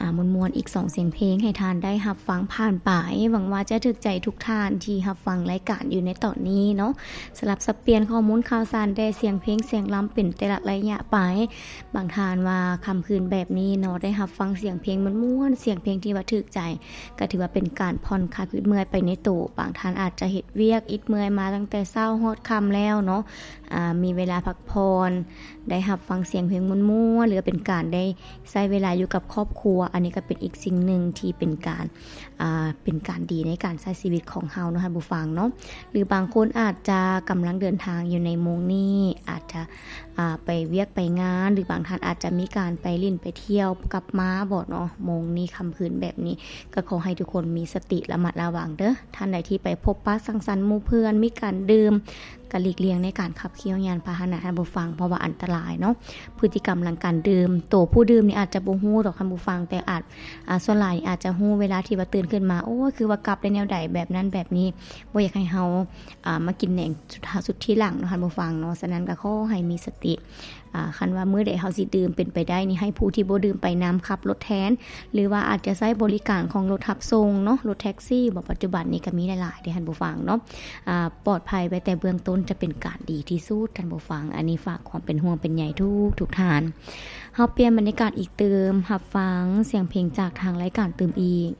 ອ່າ ມ່ວນໆ ອີກສອງສຽງເພງໃຫ້ທ່ານໄດ້ຮັບຟັງຜ່ານໄປ. ຫວັງວ່າຈະຖືກໃຈທຸກທ່ານທີ່ຮັບຟັງລາຍການຢູ່ໃນຕອນນີ້ເນາະ. ສະຫຼັບສັບປ່ຽນຂໍ້ມູນຂ່າວສານແດ່ ສຽງເພງສຽງລຳເປັນແຕ່ລະໄລຍະໄປ. ບາງທ່ານວ່າຄ່ຳຄືນແບບນີ້ເນາະ ໄດ້ຮັບຟັງສຽງເພງມ່ວນໆ ສຽງເພງທີ່ວ່າຖືກໃຈ ກໍຖືວ່າເປັນການຜ່ອນຄາຍຄາບເມື່ອຍໄປໃນໂຕ. ບາງທ່ານອາດຈະເຮັດວຽກອິດເມື່ອຍມາຕັ້ງແຕ່ເຊົ້າຮອດຄ່ຳແລ້ວເນາະ ອ່າ ມີເວລາພັກຜ່ອນ ໄດ້ຮັບຟັງສຽງເພງມ່ວນໆ ຫຼືວ່າເປັນການໄດ້ໃຊ້ເວລາຢູ່ກັບຄອບຄົວ. ອັນນີ້ກໍເປັນອີກສິ່ງໜຶ່ງທີ່ເປັນການ ອ່າ ເປັນການດີໃນການໃຊ້ຊີວິດຂອງເຮົາເນາະ ທ່ານຜູ້ຟັງເນາະ. ຫຼືບາງຄົນອາດຈະກຳລັງເດີນທາງຢູ່ໃນໂມງນີ້ ອາດຈະ ອ່າ ໄປວຽກໄປງານ ຫຼືບາງທ່ານອາດຈະມີການໄປຫຼິ້ນໄປທ່ຽວກັບມາບໍເນາະ ໂມງນີ້ຄ່ຳຄືນແບບນີ້. ກໍຂໍໃຫ້ທຸກຄົນມີສະຕິລະມັດລະວັງເດີ້. ທ່ານໃດທີ່ໄປພົບປະສັງສັນໝູ່ເພື່ອນ ມີການດື່ມ ກໍຫຼີກລ່ຽງໃນການຂັບຂີ່ຍານພາຫະນະ ທ່ານຜູ້ຟັງ ເພາະວ່າອັນຕະລາຍເນາະ. ພຶດຕິກຳຫຼັງການດື່ມ ໂຕຜູ້ດື່ມນີ້ອາດຈະບໍ່ຮູ້ດອກ ທ່ານຜູ້ຟັງ ແຕ່ອາດ ອ່າ ສ່ວນຫຼາຍອາດຈະຮູ້ເວລາທີ່ວ່າຕື່ນຂຶ້ນມາ ໂອ້ຍ ຄືວ່າກັບໄດ້ແນວໃດ ແບບນັ້ນແບບນີ້. ບໍ່ຢາກໃຫ້ເຮົາ ອ່າ ມາກິນແໜງສຸດທ້າຍ ສຸດທີຫຼັງເນາະ ທ່ານຜູ້ຟັງເນາະ. ສະນັ້ນກໍຂໍໃຫ້ມີສະຕິ ອ່າ ຄັນວ່າມື້ໃດເຮົາຊິດື່ມ ເປັນໄປໄດ້ນີ້ໃຫ້ຜູ້ທີ່ບໍ່ດື່ມໄປນຳ ຂັບລົດແທນ ຫຼືວ່າອາດຈະໃຊ້ບໍລິການຂອງລົດຮັບສົ່ງເນາະ ລົດແທັກຊີບໍ. ປັດຈຸບັນນີ້ກໍມີຫຼາຍໆເດ້ ທ່ານຜູ້ຟັງເນາະ. ອ່າ ປອດໄພໄວ້ແຕ່ເບື້ອງຕົ້ນຈະເປັນການດີທີ່ສຸດ ທ່ານຜູ້ຟັງ. ອັນນີ້ຝາກຄວາມເປັນຫ່ວງເປັນໃຍທຸກໆທ່ານ. ເຮົາປ່ຽນບັນຍາກາດອີກຕື່ມ ຮັບຟັງສຽງເພງຈາກທາງລາຍການຕື່ມອີກ.